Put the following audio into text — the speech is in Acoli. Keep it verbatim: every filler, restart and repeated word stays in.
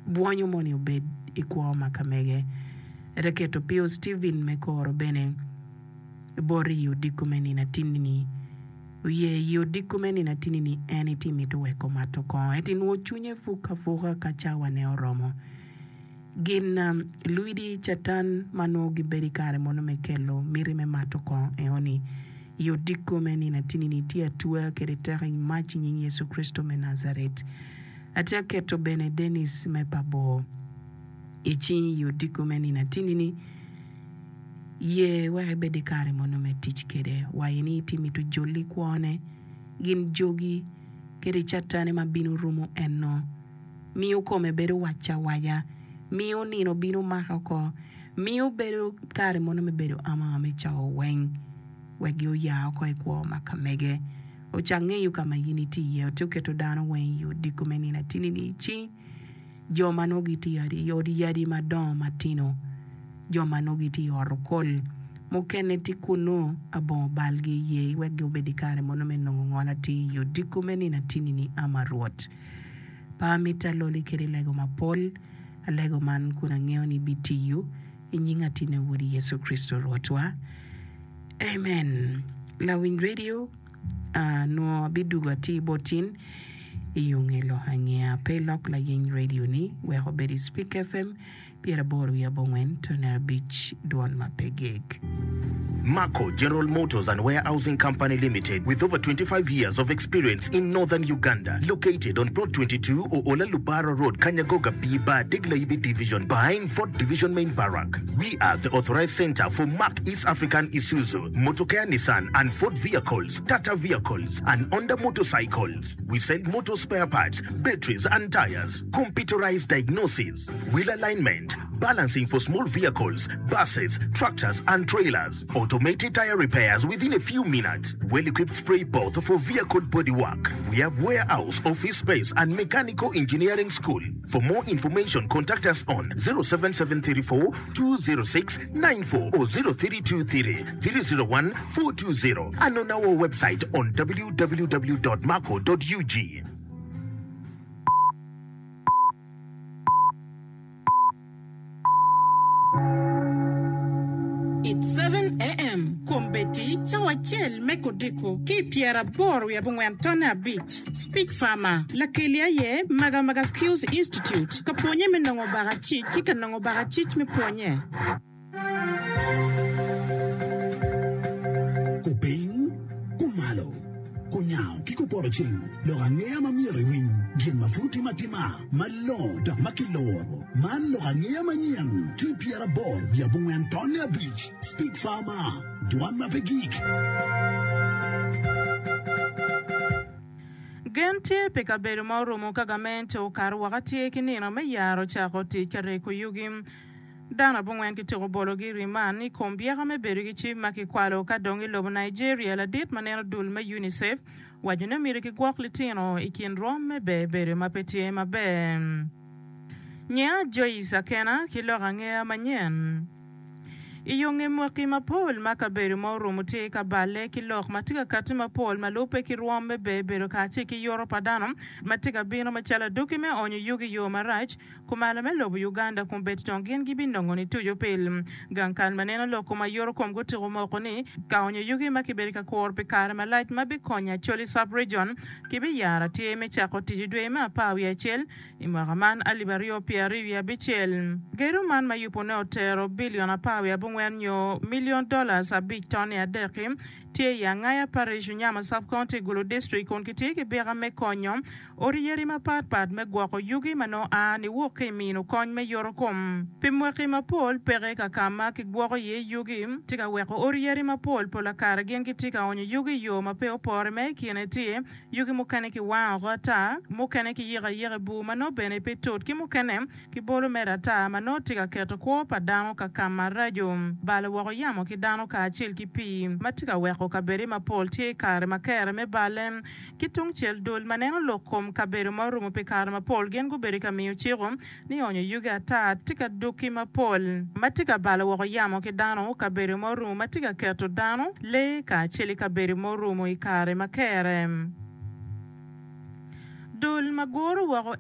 Bwonyo moni obed i kwo ma ka mege. Ete keto Pio Stephen me koro bene boti i odiko me nino atinni-ni. Oye i odiko me nino atinni-ni en iti mito weko mato kongo ento inwo cwinye puk apuka ka cawane oromo. Gin lwidi Catan ma nongo gibedo i kare mono me kelo miti me mato kongo eoni i odiko me nino atinni-ni tye atweya kede teko i mac i nying Yecu Kricito me Nazaret. Atye aketo bene Dennis me pa bor i cingi i odiko me nino atinni-ni. Ye wek ibed i kare mono me tic kede. Waye ni itye mito joli kwone, gin jogi, kede catane ma bino rumo enno. Miyo kome bedo wac awaca. Miyo nino bino mako oko. Miyo bedo kare mono me bedo ama me cawa weng wek gi oya oko i kwo ma ka mege. Ocak ngeyo ka ma in itye iye. Otye oketo dano weng i odiko me nino atinni-ni i cing jo ma nongo gitye i odi yadi madongo matino, jo ma nongo gitye i ot okol, mukene tye kunnu abongo balgi iye wek gubed i kare mono me nongo ngol atir i odiko me nino atinni-ni. Ama Rwot, pe amito aloli kede lego mapol, alego man kun angeyo ni bitiyo i nying atinne Wodi Yecu Kricito Rwotwa. Amen. Lawiny radio, nongo abidugo atir bot in i yo nge lok angeya. Pe ilok layeny radio ni wek obed i Speak FM pyeraboro wiye abongwen tone abic dwon ma pe geg. Marco General Motors and Warehousing Company Limited, with over twenty-five years of experience in northern Uganda, located on Plot twenty-two Oola Lubara Road, Kanyagoga B Bar, Degla Division, behind Fort Division Main Barrack. We are the authorized center for Mark East African Isuzu, Motocare Nissan and Ford vehicles, Tata vehicles, and Honda motorcycles. We sell motor spare parts, batteries and tires, computerized diagnosis, wheel alignment, balancing for small vehicles, buses, tractors and trailers, automated tire repairs within a few minutes, well-equipped spray booth for vehicle bodywork. We have warehouse, office space and mechanical engineering school. For more information, contact us on zero seven seven three four two zero six nine four or zero three two three three zero one four two zero and on our website on w w w dot marco dot u g. It's seven A M Kombeddi cawa acel me kodiko ki i pyeraboro wiye abongwen tonne abic. Speak Farmer, Lakeli aye Magamaga Skills Institute ka pwonye me nongo bakacic ki ka nongo bakacic me pwonye. Kupiny, kumalo, kunyango ki kupoto ceng, lok angeya ma myero iwiny, gin ma pud timo atima, malongo dok ma kiloro. Man lok angeya manyen ki pyeraboro wiye abongwen tonne abic. Speak Farmer, dwan ma pe gik. Gen tye pi kabedo ma orumo ka gamente okato woko tye ki nino me yaro cako tic ka reko yugi. Dano abongwen kitiko bologi i riman i kom byeka me bedo ki cim ma kikwalo ka dong i lobo Nigeria. Ladit ma neno dul me UNICEF waco ni myero kigwok litino i kin rwom me ber bedo ma pe tye maber. Nyinga Joyce Akena ki lok angeya manyen. I yo nge mwaki mapol ma kabedo ma orumo tye ka balle ki lok ma tye ka kati mapol ma lubbe ki rwom me ber bedo kacel ki yoto pa dano ma tye ka bino macalo aduki me onyo yugi i yo marac kumalo me lobo Uganda kun bed tong gin gibinongo ni tuco pil. Gang kal ma neno lok kom ayoto kom gutiko moko ni ka onyo yugi ma kibedo ka kuro pi kare malac ma bikonyo Acholi Sub-Region kibiyaro tye me cako tic i dwe me apar wiye acel i mwaka man alip aryo pyera aryo wiye abicel. Gedo man ma yubone otero bilion apar wiye abongwen nyo milion dollars abic tonni adek-ki tye i Angaya Parish, Unyama Sub-County, Gulu District kun kitye ki byeka me konyo odi yadi mapatpat me gwoko yugi ma nongo a niwok ki i mino kony me yoto kom. Pi mwaki mapol peke ka ka ma kigwoko iye yugi tye ka weko odi yadi mapol pol kare gin gitye ka onyo yugi i yo ma pe opore ma i kine tye yugi mukene kiwango oko ata, mukene kiyiko ayika i bur ma nongo bene pe tut ki mukene kibolo mere ata ma nongo tye ka keto kwo pa dano ka ka maraco, balo woko yamo ki dano kacel ki pii ma tye ka weko kabede mapol tye i kare ma kere me balle. Ki tung cel dul ma neno lok kom kabedo ma orumo pi kare mapol gin gubedo ka miyo ciko ni onyo yugi ata tye ka duki mapol ma tye ka balo woko yamo ki dano kabedo ma orumo ma tye ka keto dano lee kacel i kabedo ma orumo i kare ma kere. Dul ma guro woko